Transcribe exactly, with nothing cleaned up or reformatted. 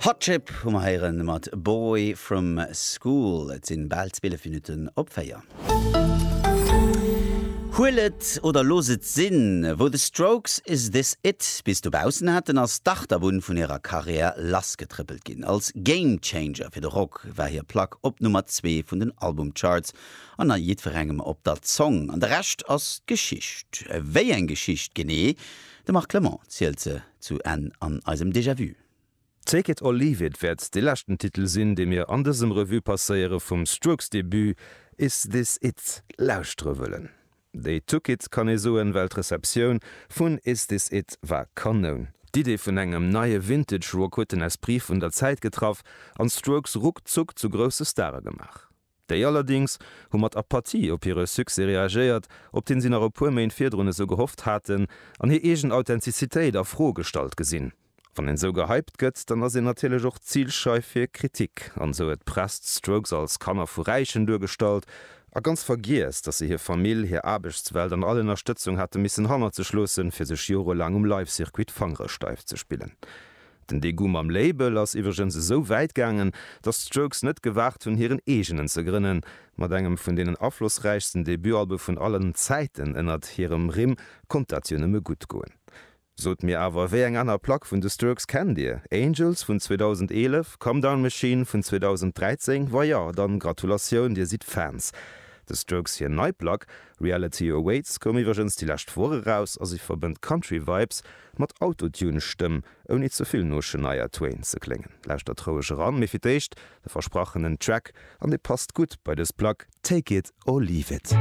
Hot Chip hu mer héieren mat Boy from School. Et sinn bal zwielef Minutten op véier. Huel et oder looss et sinn, wou The Strokes Is This It bis dobaussen haten, ass d'Achterbunn vun hirer Karriär lassgetrëppelt ginn. Als Game Changer fir de Rock war hir Plack op Nummer zwee vun den Albumcharts an a jiddwerengem op der Zong. An de Rescht ass Geschicht. Wéi eng Geschicht genee? De Marc Clement zielt se zu Enn an eisem Déjà-vu. Take It or Leave It wäert de leschten Titel sinn, dee mir an dësem Revue passéiere vum Strokes-Debut Is This It lauschtere wëllen. They took it kann ee soen, well d'Receptioun vun Is This It war Kanoun. D'Idee vun engem neie Vintage Rock huet den Esprit vun der Zäit getraff an d'Strokes ruckzuck zu grousse Stare gemaach. Déi allerdéngs hu mat Apathie op hire Succès reagéiert, op deen si nach e puer Méint virdrun esou gehofft haten, an hir eegen Authentizitéit a Fro gestallt gesinn. Wann een esou gehypt gëtt, dann ass een natierlech och Zilscheif fir Kritik. An esou huet d'Press d'Strokes als Kanner vu Räichen duergestallt a ganz vergiess, datt se hir Famill, hir Aarbechtswelt an all Ënnerstëtzung hate missen hannert sech loossen, fir sech jorelaang um Live-Circuit d'Fangere steif ze spillen. Den Degoût mam Label ass iwwregens esou wäit gaangen, datt d'Strokes net gewaart hunn, hiren eegenen ze grënnen. Mat engem vun deenen aflossräichsten Debutalbe vun allen Zäiten ënnert hirem Rimm konnt dat jo nëmme gutt goen. Sot mir awer, wéi eng aner Plack vun de Strokes kennt Dir? Angels vun zweedausendeenef? Come Down Machine vun zweedausendräizéng? Wa jo, dann Gratulatioun, Dir sidd Fans. De Strokes hir nei Plack Reality Awaits koum iwwregens déi lescht Woch eraus a si verbënnt Country Vibes mat Autotune-Stëmm, ouni ze vill no Shania Twain ze kléngen. Lauschtert roueg eran, mee fir d'éischt de versprachenen Track, an dee passt gutt bei dës Plack, Take It or Leave It.